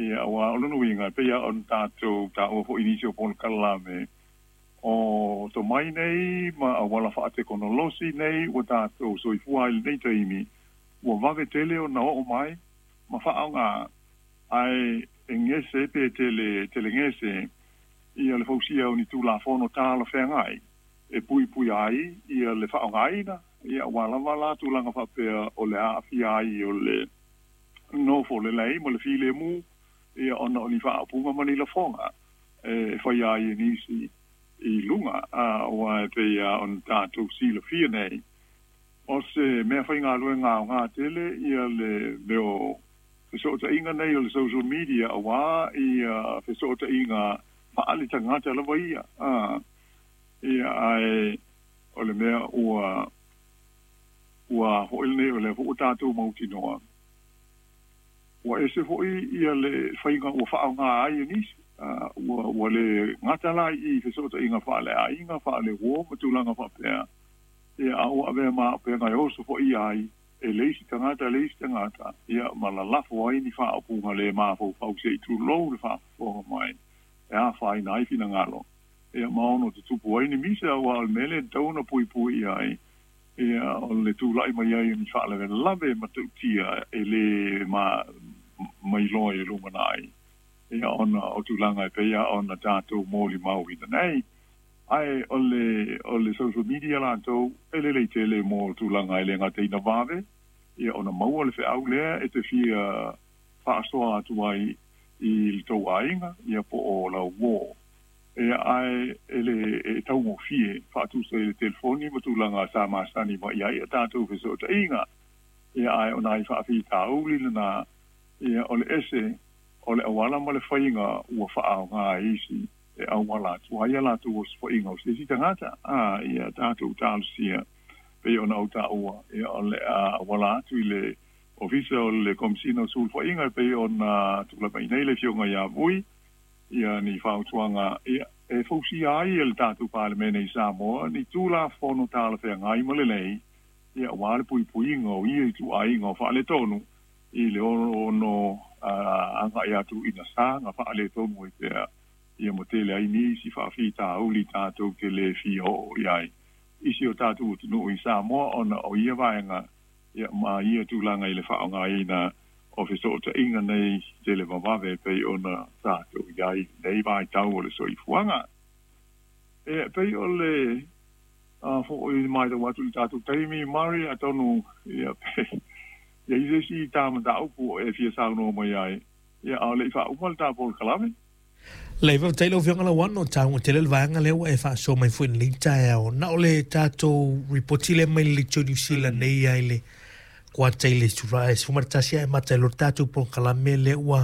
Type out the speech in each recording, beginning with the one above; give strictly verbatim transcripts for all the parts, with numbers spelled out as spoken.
Ia auā o lona uiga e pei lava ona tatou taua foʻi i nisi o polokalame o tomai nei ma auala faatekonolosi nei ua tatou soifua ai i lenei taimi ua vave tele ona oo mai ma faaaogā ae e gese pe tele tele gese ia le fausia o ni tulafono talafeagai e puipui ai ia le faaaogaina ia auā lava la tulaga faapea o le aafia ai o le nofo lelei ma le filemu ia ona o ni faaupuga ma ni lafoga e faia ai e nisi i luga aua e pei lava ona tatou silafia nei o se mea faigaluega aogā tele ia le mea o fesootaiga nei o le social media auā ia fesootaiga faaletagata lava ia a ia ae o le mea ua ua foʻi lenei o lea foi ua tatou mautinoa ua ese foʻi ia le faiga ua faaaogā ai e nisi ua ua le gata la i fesootaiga faaleaiga faaleuo ma tulaga faapea ia a ua avea ma auupega e oso foʻi ai e le isi tagata le isi tagata ia ma lalafo ai ni faaupuga le mafaufau se i tulou le faafofoga mai e afaina ai finagalo ia ma ono tutupu ai ni misa auā o le mea lea e tatau ona puipui ai ia o le tulaʻi mai ai o ni faalavelave matautia e lē ma mailoa i le lumanai ia ona o tulaga e pei lava ona tatou molimauina nei ae o le o le social media latou e lelei tele mo tulaga e le gata ina vave ia ona maua le feau lea e te fia faasoa atu ai i le tou aiga ia po o lau uō ia ae e le e taugofie faatusa i le telefoni ma tulaga sa masani mai ai a tatou fesootaiga ia ae o nai faafitauli lenā ia o le ese o le auala ma le faiga ua faaaogā e isi e auala atu ai a latou osofaiga o se isi tagata a ia tatou talosia pei ona ou taua ia o le a auala atu i le Ofisa o le Komesina o Sulufaiga e pei ona tulai mai nei le Afioga ia Vui ia ni fautuaga ia e fausia ai e le tatou Palemene i Samoa ni Tulafono talafeagai ma lelei ia auā le puipuiga o ia ituaiga o faaletonu i le ono agai atu ina saga faaletonu ai pea ia ma tele ai nisi faafitauli tatou te le fia oo i ai i si o tatou atunuu i Samoa ona o ia vaega ia ma ia tulaga i le faaaogaina o fesootaiga nei tele vavave e pei ona tatou i ai i lenei vaitau o le soifuaga. E pei o le a foʻi matau atu i le tatou taimi Murray atonu ia pe i ai se isi ta mataupu e fia saunoa mai ai ia a o le i faauma le ta polokalame. Leai, faafetai lau Afioga Lauano, taua tele le vaega lea ua e faasoa mai foi i lenei taeao. Na o le tatou ripoti lea mai le Leitio Niu Sila nei lava i le kuata i le Julae sefulu ma le tasi ae amata ai loa le tatou polokalame lea ua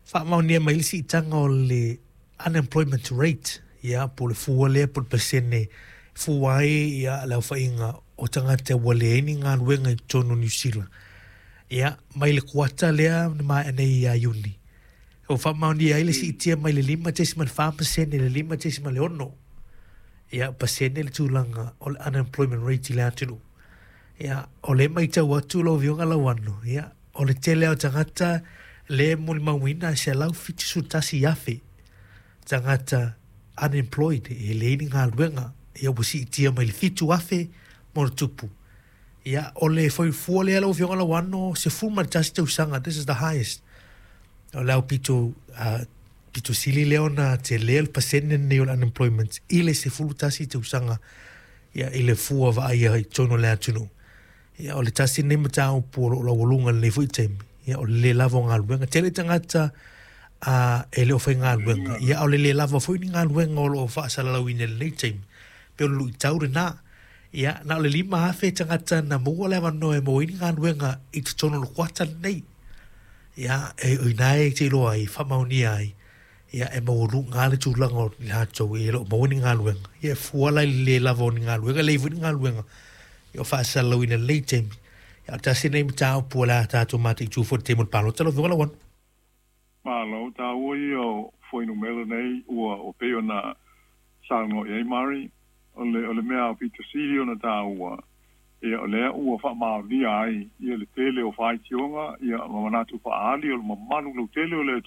faamaonia mai le siitaga o le unemployment rate, ia, po o le fua lea po o le pasene e fua ai ia le aofaiga o tagata ua leai ni galuega i totonu o Niu Sila. Ia, mai le kuata lea na maea nei ia Iuni, ua faamaonia ai le siitia mai le lima tesima le fa pasene i le lima tesima le ono ia pasene le tulaga o le unemployment rate i le atunuu. Ia, o lea e matau atu lau Afioga Lauano, ia, o le tele lava o tagata lea e molimauina e selau fitu sefulu tasi afe tagata unemployed e leai ni galuega, ia ua siitia mai le fitu afe ma le tupu. Ia, o le fuaifua lea lau Afioga Lauano, sefulu ma le tasi tausaga, this is the highest. O le aupito uh, pito sili lea ona telē le pasene lenei o le unemployment i le sefulu tasi tausaga ia i le fua vaaia i totonu o le atunuu. Ia o le tasi lenei mataupu o loo laualuga i lenei foi taimi, ia o le lē lava o galuega. Tele tagata a e le o faigaluega, ia a o le lē lava foi ni galuega o loo faasalalauina i lenei taimi, pe o le luitau lenā. Ia na o le lima afe tagata na maua le avanoa e maua ai ni galuega i totonu o le kuata lenei. Ia e o ina e te iloa ai faamaonia ai ia e maualuga le tulaga o i latou e le o maua ni galuega. Ia e fua la i le lē lava o ni galuega, leai foi ni galuega ia o faasalalauina i lenei taimi. Ia o le tasi lenei mataupu o le a tatou mataitu foi i le taimi o le palota lau Afioga Lauano. Malo, taua ia o fuainumera nei ua ua pei ona saunoa i ai Murray, o le o le mea aupito sili ona taua, ia o lea ua faamaonia ai ia le tele o faitioga ia ma manatu faaali o le mamalu lautele o le